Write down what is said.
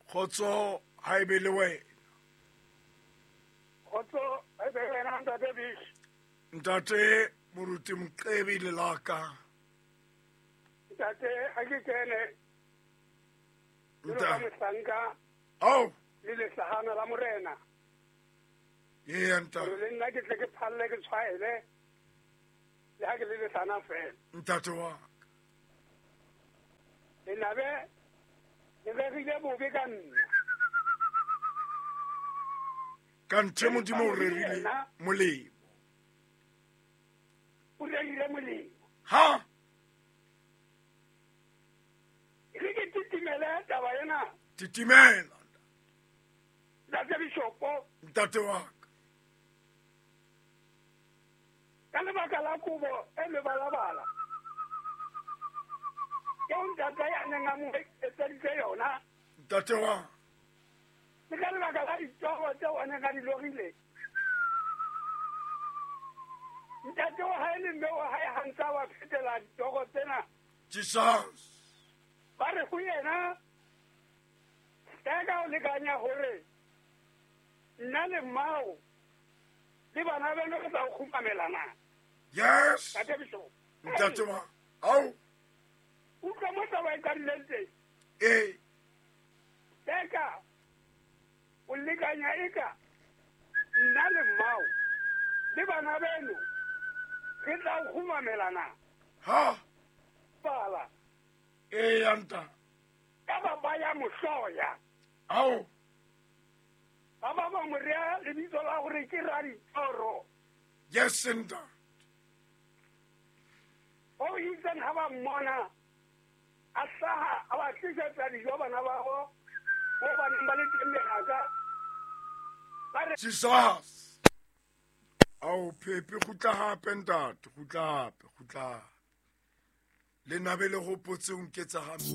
Kgotso ha e be le wena. Kgotso ha e be le wena ntate Bish. Ntate Moruti Moqebi le laka. Ntate ha ke kene. Jwalo ka mohlanka. Ao. Le lehlahana la morena. Ee ntate. Hore le nna ke tle ke phalle ke tshwaele. Le ha ke le lehlana fela. Ntate wa ka. Lenabe le rerile bobe ka nna. Ka nthe Modimo o rerile molemo. O rerile molemo. Ha? Re ke titimele taba ena. Titimela. Ntate Bishopo. Ntate wa ka. Ka lebaka la kobo e mebalabala eo ntate a neng a mo etseditse yona. Ntate wa. Le ka lebaka la ditoro tseo a neng a di lorile. Ntate wa hae le mme wa hae ha ntse a ba phetela ditoro tsena. Jesus. Ba re ho yena, Hleka o lekanya hore nna le mmao le bana beno re tla o kgumamela na? Yes. Ntate Bishop. Ntate wa. Ao. Utlwa mo taba e qadileng teng. Ee. Hleka o lekanya eka nna le mmao le bana beno re tla o kgumamela na? Ha. Bala. Ee, ya ntate. Ka ba ba ya mo hloya. Ao. Ba ba ba mo rea lebitso la hore ke Raditoro. Yes, ntate. Ho itseng ha ba mmona a hlaha a ba tlisetsa dijo bana ba ho mo ba neng ba le teng meraka. Ba re Jesus. Ao Phepe kgutla hape ntate, kgutla hape, kgutla hape. Le nabe le hopotse o nketsa hampe.